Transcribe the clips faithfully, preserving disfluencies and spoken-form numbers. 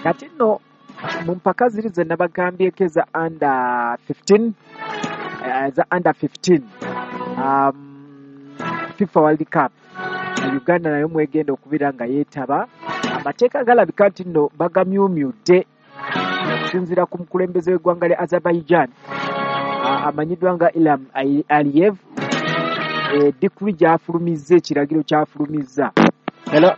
Kati nno mu mpaka ziri ze nabagambyeko eza under fifteen, eza under fifteen um, FIFA World Cup, Uganda nayo mwegenda okubeera nga yeetaba. Amateeka galabika nti nno bagamyumyudde okusinziira ku mukulembeze w'eggwanga lya Azerbaijan amanyiddwa nga Ilham Aliyev. Decree gy'afulumizza, ekiragiro ky'afulumizza. Hello.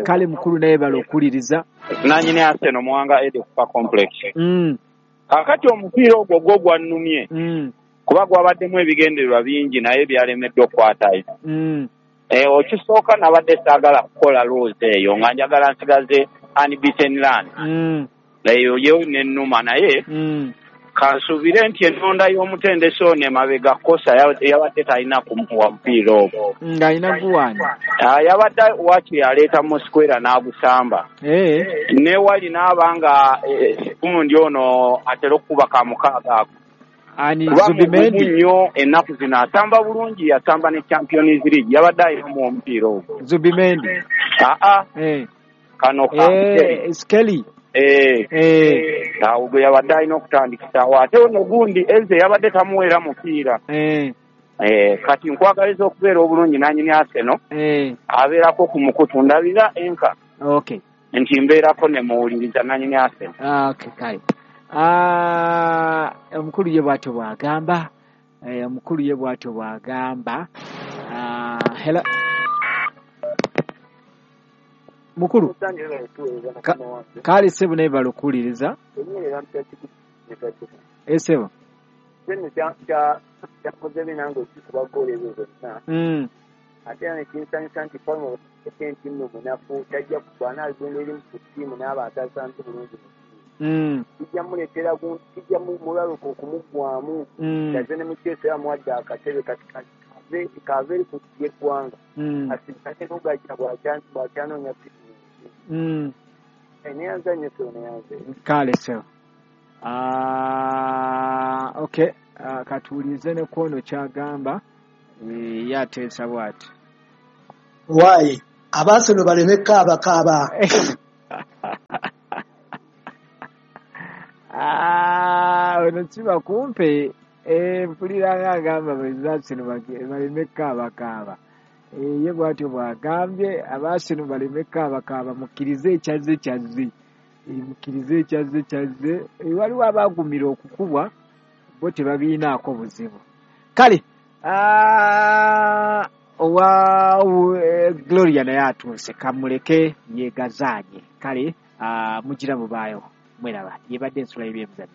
Kale mukulu naye bala okuwuliriza. Nanyini Arsenal Muwanga Eddie Kupa Complex. Mm. Kakati omupiira ogwo gwo gwannumye. Mm. Kuba gwabaddemu ebigendererwa bingi naye byalemeddwa okukwatayo. Mm. Eh, okisooka nabadde saagala kukola loozi eyo nga njagala nsigaze unbeaten run. Mm. Eyo yo nennuma naye. Mm. Kansuubire nti ennonda y'omutendesi ono emabega kosa yabadde talina kumuwa mupiira ogwo. Ng'alina guwani? Yabadde waakiri aleeta Mosquera n'agusamba. Ne wali n'aba nga gundi ono atera okukuba ka mukaaga ako. Ani Zubimendi? Nnyo ennaku zino asamba bulungi, yasamba ne Champions League, yabadde alinamu omupiira ogwo. Zubimendi? Aa. Kano ka Skelly. Eh, eh, awo gwe yabadde alina okutandikisaawo ate ono gundi Eze yabadde tamuweera mupiira. Eh. Eh, kati nkwagaliza okubeera obulungi nanyini Arsenal. Eh. Abeerako ku mukutu ndabira enka. Okay. Nti mbeerako ne muwuliriza nanyini Arsenal. Ah, okay, kale. Ah, omukulu ye bw'atyo bw'agamba. Eh, omukulu ye bw'atyo bw'agamba. Ah, hello. Mukulu. Kale sebo naye bala okuwuliriza. Eh, sebo. Mm. Ate nekinsanyusa nti Palmer nti nno munafu tajja kuba anaagenda eri mu ttiimu n'aba atasanze bulungi mu ttiimu. Kijja muleetera kijja mulaluka okumuggwamu. Yaze ne Mukyesa yamuwadde akatebe kati kaave eri ku y'eggwanga. Asigale n'ogajja bw'akyanoonya fitinensi. Neyanza nnyo sebo, neyanze. Kale sebo. Okay, katuwulirize ne kwono ky'agamba. Yateesa bw'ati. Waayi Abaaseno baleme kaabakaaba. Ono kiba kumpe mpulira ng'agamba Abaaseno baleme kaabakaaba. Ye bw'atyo bw'agambye Abaaseno baleme kaabakaaba, mukkirize ekyazze kyazze. Mukkirize ekyazze kyazze. Waliwo abaagumira okukubwa bo tebabiinaako buzibu. Kale owa Gloria naye atuuse kamuleke yeegazaanye. Kale mugira mubaayo mweraba yebadde ensula y'ebyemizannyo.